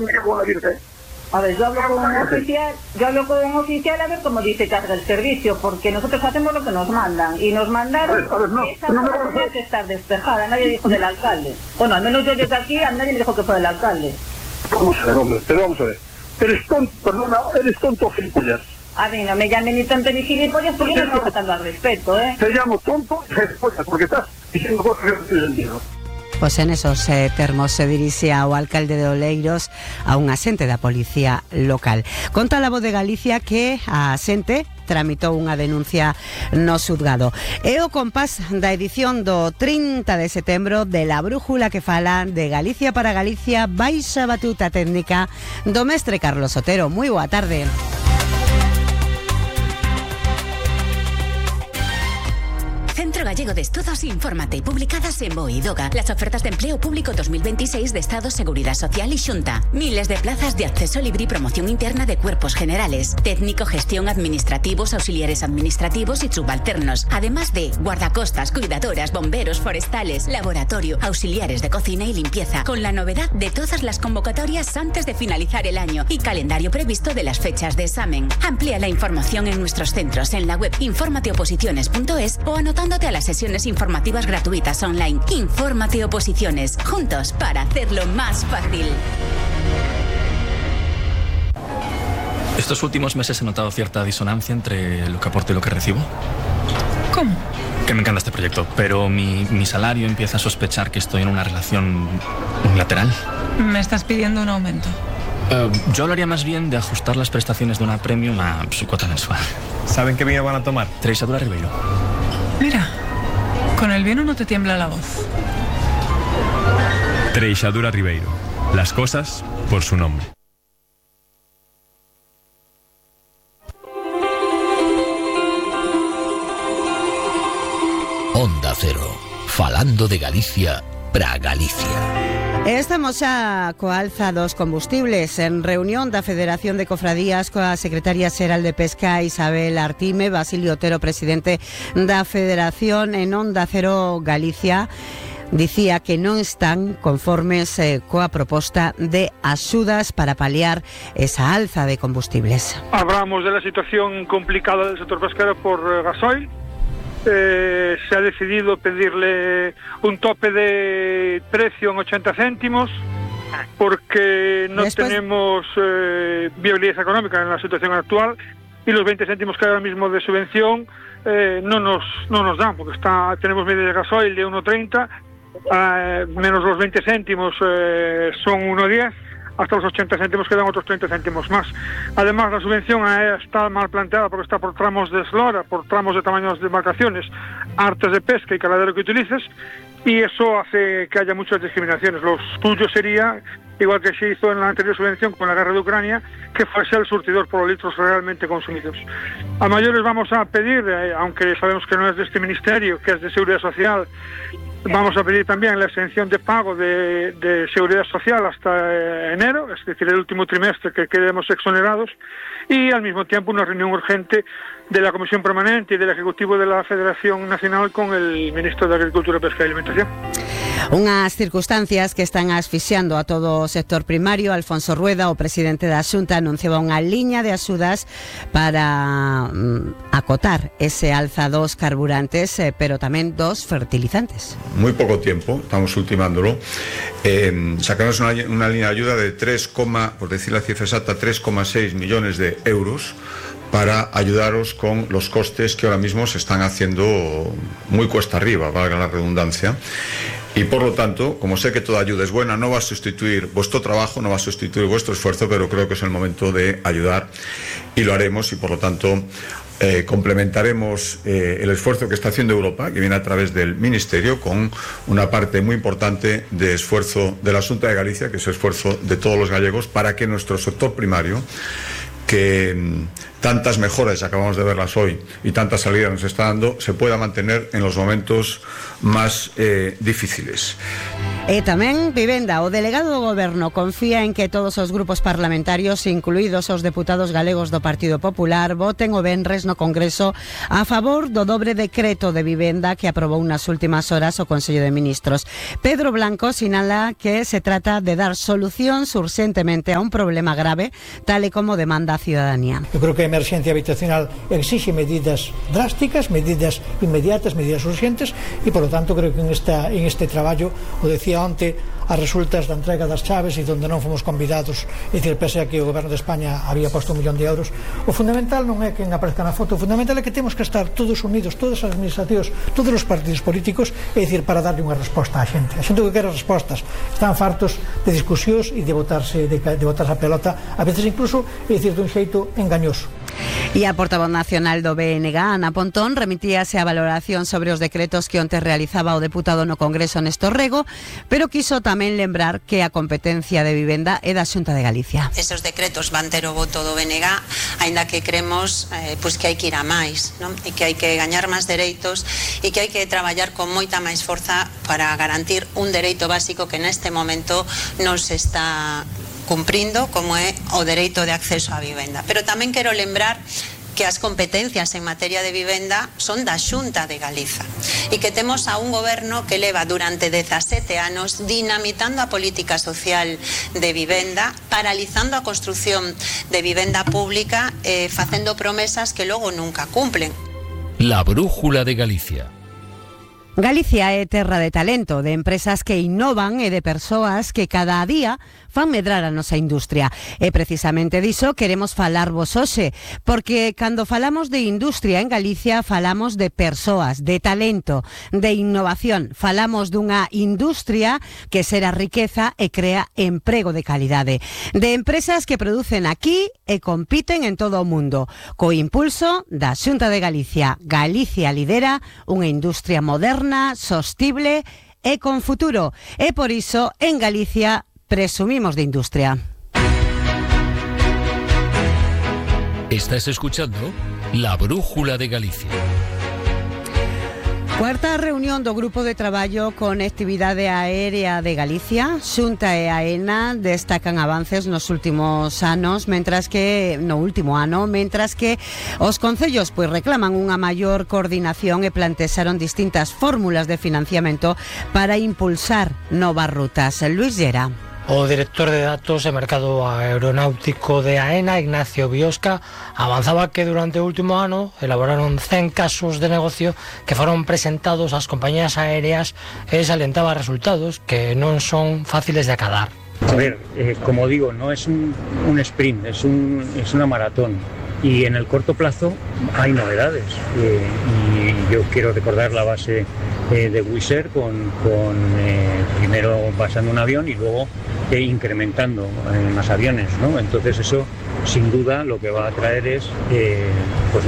me cago en la Virgen. A ver, yo hablo con un oficial a ver cómo dice que hace el servicio, porque nosotros hacemos lo que nos mandan, y nos mandaron esa zona tenía que estar despejada, nadie dijo del alcalde. Bueno, al menos yo desde aquí, a nadie me dijo que fue del alcalde. Vamos a ver, hombre, pero vamos a ver. Eres tonto gilipollas. A mí no me llamen ni tonto ni gilipollas, porque yo no estoy faltando al respeto, ¿eh? Te llamo tonto y gilipollas, porque estás diciendo cosas que no tienen sentido. Pois en esos termos se dirixía o alcalde de Oleiros a un asente da policía local. Conta a Voz de Galicia que a asente tramitou unha denuncia no xuzgado. É o compás da edición do 30 de setembro de La Brújula que fala de Galicia para Galicia, baixa batuta técnica do mestre Carlos Otero. Moi boa tarde. Centro Gallego de Estudos Infórmate, publicadas en BOE y DOGA. Las ofertas de empleo público 2026 de Estado, Seguridad Social y Xunta. Miles de plazas de acceso libre y promoción interna de cuerpos generales. Técnico, gestión, administrativos, auxiliares administrativos y subalternos. Además de guardacostas, cuidadoras, bomberos, forestales, laboratorio, auxiliares de cocina y limpieza. Con la novedad de todas las convocatorias antes de finalizar el año y calendario previsto de las fechas de examen. Amplía la información en nuestros centros en la web informateoposiciones.es o anotándote a las sesiones informativas gratuitas online. Infórmate Oposiciones, juntos para hacerlo más fácil. Estos últimos meses he notado cierta disonancia entre lo que aporto y lo que recibo. ¿Cómo? Que me encanta este proyecto, pero mi salario empieza a sospechar que estoy en una relación unilateral. Me estás pidiendo un aumento. Yo hablaría más bien de ajustar las prestaciones de una premium a su cuota mensual. ¿Saben qué vino van a tomar? Treixadura Ribeiro. Mira, con el vino no te tiembla la voz. Treixadura Ribeiro. Las cosas por su nombre. Onda Cero. Falando de Galicia para Galicia. Estamos xa coa alza dos combustibles en reunión da Federación de Cofradías coa secretaria xeral de Pesca Isabel Artime, Basilio Otero, presidente da Federación, en Onda Cero Galicia. Dicía que non están conformes coa proposta de axudas para paliar esa alza de combustibles. Hablamos de la situación complicada del sector pesquero por gasoil. Se ha decidido pedirle un tope de precio en 80 céntimos porque no tenemos viabilidad económica en la situación actual, y los 20 céntimos que hay ahora mismo de subvención no nos dan, porque tenemos media de gasoil de 1,30, menos los 20 céntimos son 1,10, hasta los 80 céntimos quedan otros 30 céntimos más. Además, la subvención está mal planteada porque está por tramos de eslora, por tramos de tamaños de embarcaciones, artes de pesca y caladero que utilices, y eso hace que haya muchas discriminaciones. Lo suyo sería, igual que se hizo en la anterior subvención con la guerra de Ucrania, que fuese el surtidor por los litros realmente consumidos. A mayores vamos a pedir, aunque sabemos que no es de este ministerio, que es de Seguridad Social, vamos a pedir también la exención de pago de Seguridad Social hasta enero, es decir, el último trimestre, que quedemos exonerados, y al mismo tiempo una reunión urgente de la Comisión Permanente y del Ejecutivo de la Federación Nacional con el Ministro de Agricultura, Pesca y Alimentación. Unhas circunstancias que están asfixiando a todo o sector primario. Alfonso Rueda, o presidente da Xunta, anunciaba unha liña de axudas para acotar ese alza dos carburantes, pero tamén dos fertilizantes. Muy poco tiempo, estamos ultimándolo. Sacamos una línea de ayuda de 3, por decir la cifra exacta, 3,6 millones de euros para ayudaros con los costes que ahora mismo se están haciendo muy cuesta arriba, valga la redundancia. Y por lo tanto, como sé que toda ayuda es buena, no va a sustituir vuestro trabajo, no va a sustituir vuestro esfuerzo, pero creo que es el momento de ayudar y lo haremos, y por lo tanto complementaremos el esfuerzo que está haciendo Europa, que viene a través del Ministerio, con una parte muy importante de esfuerzo de la Xunta de Galicia, que es el esfuerzo de todos los gallegos, para que nuestro sector primario, que tantas mejoras, acabamos de verlas hoy, y tantas salidas nos está dando, se pueda mantener en los momentos más difíciles. E tamén vivenda. O delegado do Goberno confía en que todos os grupos parlamentarios, incluídos os deputados galegos do Partido Popular, voten o venres no Congreso a favor do dobre decreto de vivenda que aprobou nas últimas horas o Consello de Ministros. Pedro Blanco sinala que se trata de dar solucións urxentemente a un problema grave, tal e como demanda a ciudadanía. Eu creo que a emerxencia habitacional exixe medidas drásticas, medidas inmediatas, medidas urgentes, e, por lo tanto, creo que en este traballo, o decía onte, as resultas da entrega das chaves e onde non fomos convidados, é dicir, pese a que o Goberno de España había posto 1 millón de euros, o fundamental non é quen aparezca na foto, o fundamental é que temos que estar todos unidos, todas as administracións, todos os partidos políticos, é dicir, para darle unha resposta á xente. A xente que quere respostas, están fartos de discusións e de botarse a pelota, a veces incluso, é dicir, dun xeito engañoso. E a portavoz nacional do BNG, Ana Pontón, remitíase a valoración sobre os decretos que onte realizaba o deputado no Congreso Néstor Rego, pero quiso tamén lembrar que a competencia de vivenda é da Xunta de Galicia. Esos decretos van ter o voto do BNG, aínda que cremos que hai que ir a máis, non? E que hai que gañar máis dereitos e que hai que traballar con moita máis forza para garantir un dereito básico que neste momento non se está cumprindo, como é o dereito de acceso á vivenda. Pero tamén quero lembrar que as competencias en materia de vivenda son da Xunta de Galiza e que temos a un goberno que leva durante 17 anos dinamitando a política social de vivenda, paralizando a construción de vivenda pública, facendo promesas que logo nunca cumplen. La brújula de Galicia. Galicia é terra de talento, de empresas que innovan e de persoas que cada día fan medrar a nosa industria. E precisamente diso queremos falarvos hoxe, porque cando falamos de industria en Galicia falamos de persoas, de talento, de innovación. Falamos dunha industria que xera riqueza e crea emprego de calidade. De empresas que producen aquí e compiten en todo o mundo. Co impulso da Xunta de Galicia. Galicia lidera unha industria moderna, sostible e con futuro. E por iso, en Galicia, presumimos de industria. Estás escuchando La Brújula de Galicia. Cuarta reunión do Grupo de Traballo Conectividade Aérea de Galicia. Xunta e AENA destacan avances nos últimos anos, mentras que os concellos reclaman unha maior coordinación e plantexaron distintas fórmulas de financiamento para impulsar novas rutas. Luis Llera. O director de datos e mercado aeronáutico de AENA, Ignacio Biosca, avanzaba que durante o último ano elaboraron 100 casos de negocio que foron presentados ás compañías aéreas e salientaba resultados que non son fáciles de acadar. A ver, como digo, no es un sprint, es una maratón. Y en el corto plazo hay novedades. Y yo quiero recordar la base de Wizz Air con primero basando un avión y luego incrementando más aviones, ¿no? Entonces eso, sin duda, lo que va a traer es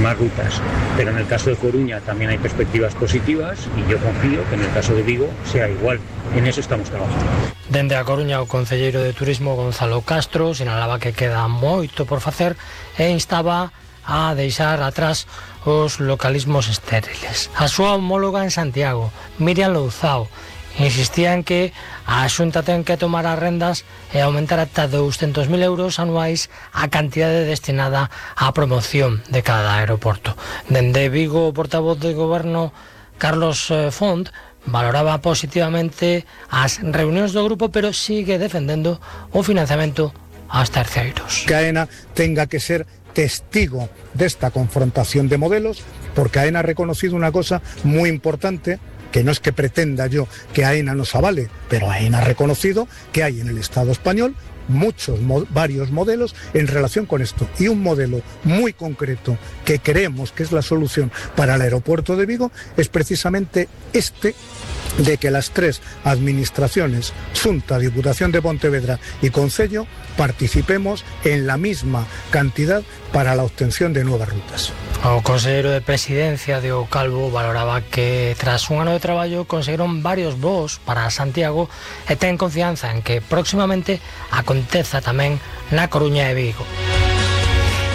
más rutas. Pero en el caso de Coruña también hay perspectivas positivas y yo confío que en el caso de Vigo sea igual. En eso estamos trabajando. Dende a Coruña, o concelleiro de Turismo Gonzalo Castro sinalaba que queda moito por facer e instaba a deixar atrás os localismos estériles. A súa homóloga en Santiago, Miriam Louzao, insistía en que a Xunta ten que tomar as rendas e aumentar ata 200.000 euros anuais a cantidade destinada á promoción de cada aeroporto. Dende Vigo, o portavoz do Goberno, Carlos Font, valoraba positivamente as reunións do grupo, pero sigue defendendo o financiamento aos terceiros. Que AENA tenga que ser testigo desta confrontación de modelos, porque AENA ha reconocido una cosa muy importante, que no es que pretenda yo que AENA nos avale, pero AENA ha reconocido que hay en el Estado español varios modelos en relación con esto, y un modelo muy concreto que creemos que es la solución para el aeropuerto de Vigo es precisamente este, de que las tres administraciones, Xunta, Diputación de Pontevedra y Concello, participemos en la misma cantidad para la obtención de nuevas rutas. O conselleiro de Presidencia, Diego Calvo, valoraba que tras un ano de traballo conseguiron varios voos para Santiago e ten confianza en que próximamente aconteza tamén na Coruña e Vigo.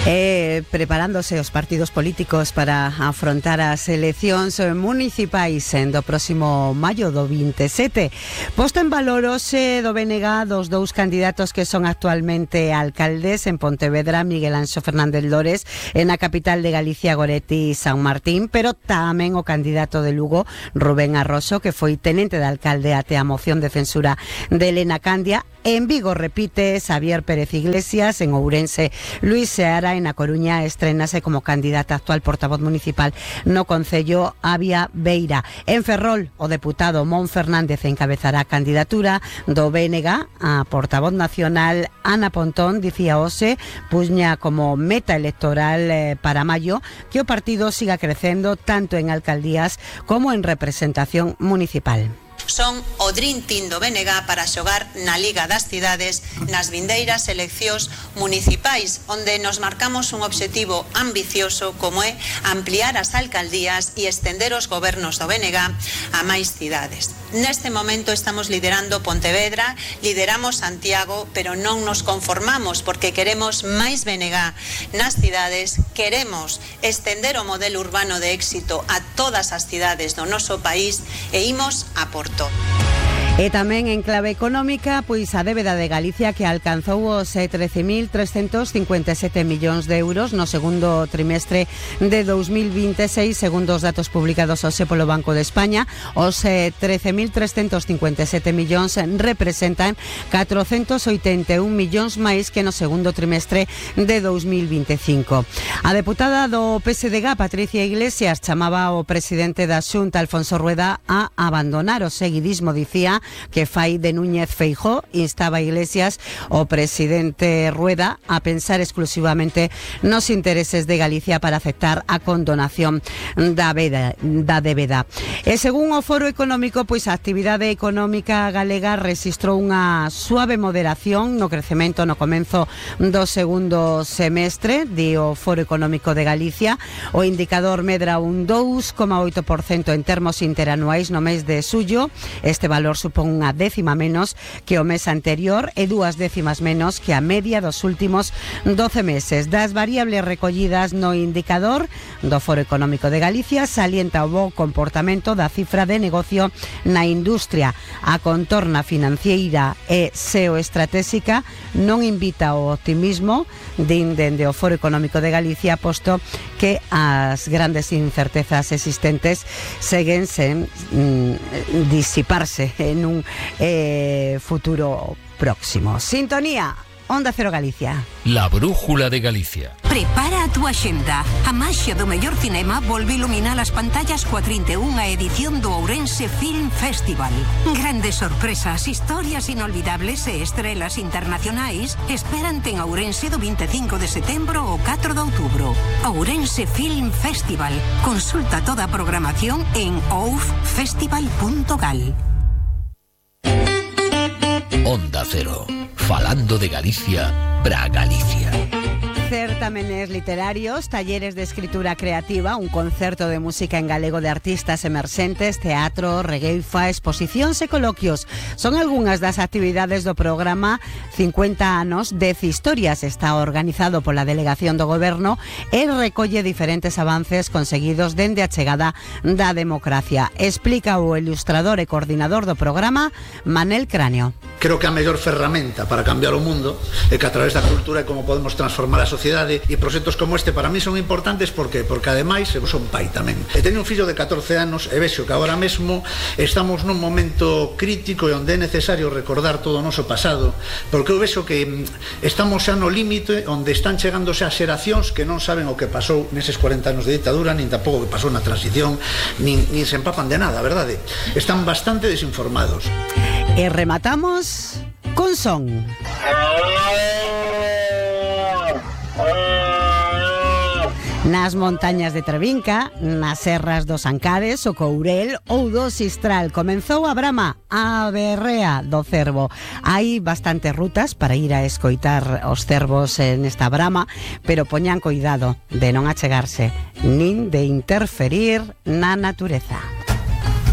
Preparándose os partidos políticos para afrontar as eleccións municipais do próximo maio do 27. Posto en valor hoxe do BNG dos dous candidatos que son actualmente alcaldes en Pontevedra, Miguel Anxo Fernández Lores, e na capital de Galicia, Goretti San Martín, pero tamén o candidato de Lugo, Rubén Arroso, que foi tenente de alcalde até a moción de censura de Elena Candia. En Vigo repite Xavier Pérez Iglesias, en Ourense Luis Seara, en A Coruña estrenase como candidata actual portavoz municipal no concello Avia Beira. En Ferrol, o deputado Mon Fernández encabezará a candidatura do BNG. A portavoz nacional Ana Pontón dicía hoxe, puña como meta electoral para maio, que o partido siga crecendo tanto en alcaldías como en representación municipal. Son o Dream Team do BNG para xogar na Liga das Cidades nas vindeiras eleccións municipais, onde nos marcamos un obxectivo ambicioso como é ampliar as alcaldías e estender os gobernos do BNG a máis cidades. Neste momento estamos liderando Pontevedra, lideramos Santiago, pero non nos conformamos porque queremos máis BNG nas cidades, queremos estender o modelo urbano de éxito a todas as cidades do noso país e imos a por todo. E tamén en clave económica, pois a débeda de Galicia que alcanzou os 13.357 millóns de euros no segundo trimestre de 2026, segundo os datos publicados hoxe polo Banco de España. Os 13.357 millóns representan 481 millóns máis que no segundo trimestre de 2025. A deputada do PSDG, Patricia Iglesias, chamaba ao presidente da Xunta, Alfonso Rueda, a abandonar o seguidismo, dicía, que fai de Núñez Feijóo. Instaba Iglesias o presidente Rueda a pensar exclusivamente nos intereses de Galicia para aceptar a condonación da débeda. E según o Foro Económico, pois a actividade económica galega rexistrou unha suave moderación no crecemento no comenzo do segundo semestre, di o Foro Económico de Galicia. O indicador medra un 2,8% en termos interanuais no mes de xullo. Este valor supón unha décima menos que o mes anterior e 2 décimas menos que a media dos últimos 12 meses. Das variables recollidas no indicador do Foro Económico de Galicia, salienta o bo comportamento da cifra de negocio na industria. A contorna financiera e xeoestratéxica non invita ao optimismo, din dende o Foro Económico de Galicia, posto que as grandes incertezas existentes seguen sen disiparse en un futuro próximo. Sintonía Onda Cero Galicia. La brújula de Galicia. Prepara a túa xenda. A maxia do mellor cinema volve iluminar as pantallas coa 31ª edición do Ourense Film Festival. Grandes sorpresas, historias inolvidables e estrelas internacionais esperante en Ourense do 25 de setembro ao 4 de outubro. Ourense Film Festival. Consulta toda a programación en oufestival.gal. Onda Cero. Falando de Galicia para Galicia. Certámenes literarios, talleres de escritura creativa, un concerto de música en galego de artistas emerxentes, teatro, regueifa, exposicións e coloquios. Son algunhas das actividades do programa 50 anos de Historias. Está organizado pola Delegación do Goberno e recolle diferentes avances conseguidos dende a chegada da democracia. Explica o ilustrador e coordinador do programa, Manel Cráneo. Creo que a mellor ferramenta para cambiar o mundo é que a través da cultura é como podemos transformar a sociedade, e proxectos como este para mí son importantes porque ademais eu son pai tamén. E teño un fillo de 14 anos e vexo que agora mesmo estamos nun momento crítico e onde é necesario recordar todo o noso pasado, porque eu vexo que estamos xa no límite onde están chegando xa xeracións que non saben o que pasou neses 40 anos de ditadura, nin tampouco o que pasou na transición, nin se empapan de nada, verdade? Están bastante desinformados. E rematamos con son. Nas montañas de Trevinca, nas serras dos Ancares, o Courel ou do Sistral, comenzou a brama, a berrea do cervo. Hai bastantes rutas para ir a escoitar os cervos nesta brama, pero poñan cuidado de non achegarse nin de interferir na natureza.